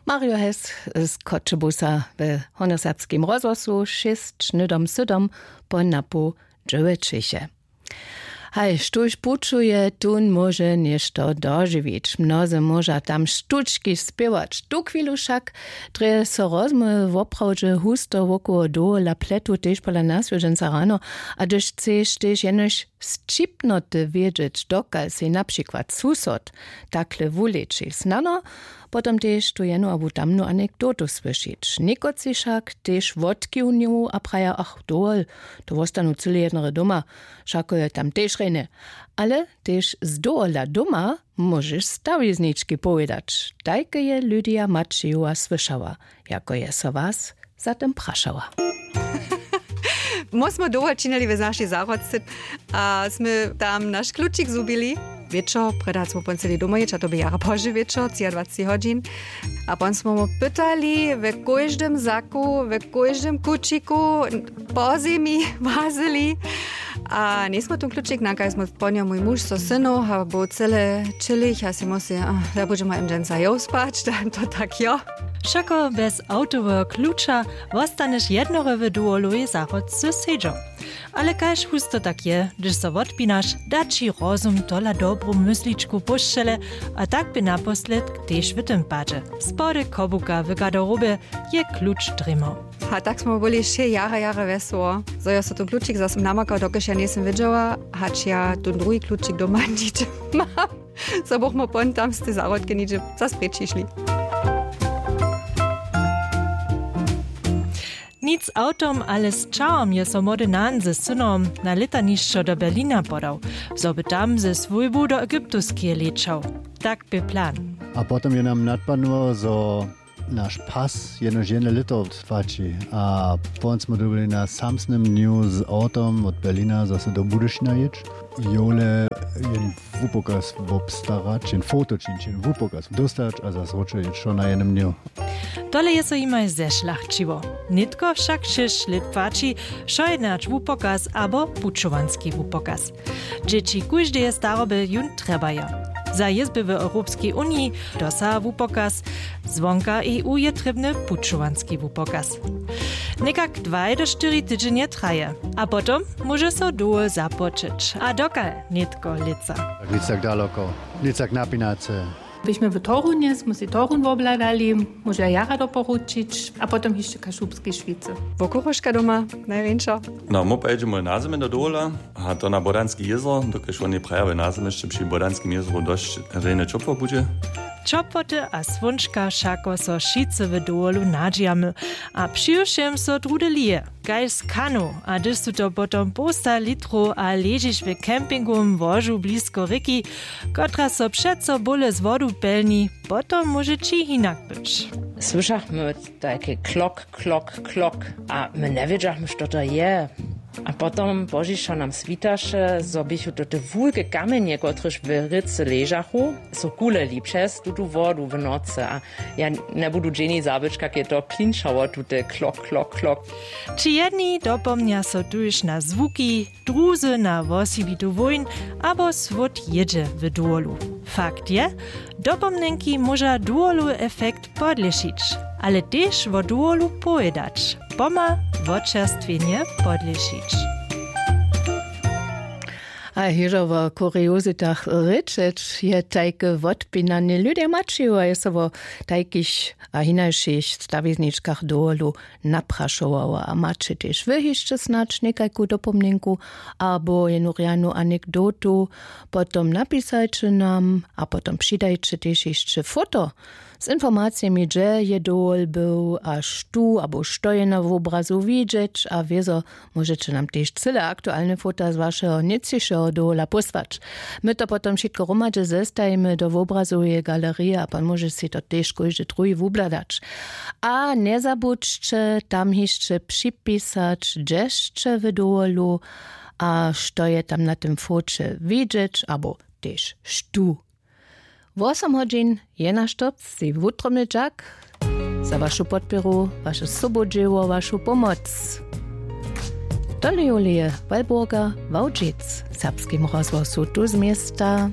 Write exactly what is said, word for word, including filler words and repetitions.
Mario Hess z Choćebuza we hornjoserbskim rozhłosu šěsć hnydom sydom po napoł dźewjećeše. Haj, štóž pućuje, tón móže něšto dožiwić. Mnozy móža tam štučki spěwać. Tuchwilu wšak drje so rozmołwy woprawdźe husto wokoło dowola pletu, tež pola naswjedźenca rano. A hdyž chceš tež jenož sćipnoty wědźeć, dokal sej na přikład susod takle wuleči, snano potom tež tu jenu abo tamnu anekdotu słyšić. Někotři wšak tež wotkiwnuju a praja: „Ach, dowol, to wostanu cyle jednore doma, wšako je tam tež rjenje.“ Ale tež z dowola doma móžeš stawiznički powědać. Tajke je Lydia Maćijowa słyšała, jako je so was za tym prašała. Mój smy dołho činili w našej zahrodce a smy tam naš klučik zhubili. Wječor, prjedy hač smy pon chceli domoj jěć, a to bě jara pozdźe wječor, třiadwaceći hodźin. A pon smy mu pytali we kóždym zaku, we kóždym kućiku, po zemi łazili. A njejsmy tón klučik nakali, smy pon jo mój muž so synow a był cyle ćělich a sej mysli, a ja budźema jim dźensa jow spać, da to tak jo. Wšako bjez awtoweho kluča wostaneš jednore w dowolowej zahrodce sedźał. Ale kaž husto tak je, hdyž so wotpinaš, da ći rozum tola dobru mysličku pósćele, a tak bě naposledk tež w tym padźe. Spody kobuka w garderobje je kluč drěmał. A tak smy byli wšě jara, jara wjesoło, zo jo so tón klučik zas namakał, dokelž ja njejsym wědźała, hač ja tón druhi klučik doma nihdźe mam. Zo bychmy pon tam z tej zahrodke nihdźe zas preč hišli. Nic awtom, ale z čahom je so młody Nan ze synom na lětanišćo do Berlina podał, zo by tam ze swójbu do Egyptuskeje lećał. Tak bě plan. A potom je nam nadpadnyło, zo naš pas jenož jedne lěto płaći. A pon smy dyrbjeli na samsnym dnju z awtom wot Berlina zase do Budyšina jěć. Jowle jen wupokaz wobstarać, jen foto činić, jen wupokaz dóstać a zas wróćo jěć wšo na jednym dnju. Tole je so jimaj zešlachćiło. Nětko wšak šěsć lět płaći wšojednač wupokaz abo pućowanski wupokaz. Dźěći kóždeje staroby jón trjebajo. Za jězby w Europskej uniji dosaha wupokaz, zwonka E U je trěbny pućowanski wupokaz. Někak dwaj do štyri tydźenje traje a potom móže so dołho započeć a dokal nětko lětsa. Tak nic tak daloko, nic tak napinace. Běchmy w Torunje, smy sej Torun wobhladali, móža jara doporučić, a potom hišće Kašubskej Šwicy. Wokurožka doma najwjeńša. No, mój pojědźemy na zymje do dowola, a to na Bodanski jězor, dokelž woni praja, w nazymje hišće při Bodanskim jězoru dosć rjenje ćopło budźe. Ćopłoty a słónčka wšako so wšitcy w dowolu nadźijamy, a přiwšěm so druhdy lije, kaž z kanu, a hdyž su to potom połsta litrow a ležiš w campingowym łožu blisko rěki, kotraž so přeco bóle z wodu pelni, potom móže ći hinak być. Słyšachmy tajki klok, klok, klok, a my njewědźachmy, što to je. A potom pozdźišo nam switaše, zo běchu to te wulke kamjenje, kotrež w rěce ležachu, so kuleli přez tutu wodu w nocy, a ja njebudu dźeni zabyć, kak je to klinčało, tute klok, klok, klok. Ći jedni dopomnja so tuž na zwuki, druzy na wosebitu wójn abo słód jědźe w dowolu. Fakt je, dopomnjenki móža dowolu efekt podlěšić, ale tež wo dowolu powědać, poma wočerstwjenje podlěšić. A hižo wo kuriozitach rěčeć je tajke wotpinanje. Lydia Maćijowa je so wo tajkich a hinašich stawizničkach dowolu naprašowała. A maće tež wy hišće snadź někajku dopomnjenku abo jenu rjanu anekdotu, potom napisajće nam a potom přidajće tež hišće foto z informacijemi, hdźe je dowol był a štó abo što je na wobrazu widźeć, a wězo móžeće nam tež cyle aktualne fota z wašeho nětřišeho dowola pósłać. My to potom wšitko hromadźe zestajimy do wobrazoweje galerije a pan móže sej to tež kóždy druhi wubhladać. A njezabudźće tam hišće připisać, hdźe sće w dowolu a što je tam na tym foće widźeć abo tež štó. Wosom hodźin je naš štorc, sej wutrobny dźak za wašu podpěru, waše sobudźěło, wašu pomoc. Tole je Julije Walburger, Wałdźic, w Serbskim rozhłosu tu z města.